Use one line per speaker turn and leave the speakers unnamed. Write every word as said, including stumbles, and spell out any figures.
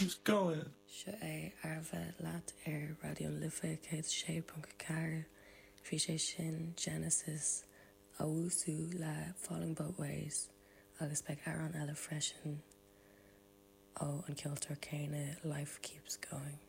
keeps going.
Seo é Arbh leat ar Raidió na Life céad sé ponc ceathair bhí sé sin Genesis Owusu le Falling Both Ways agus beidh amhrán eile freisin ó an ceoltóir céanna Life Keeps Going.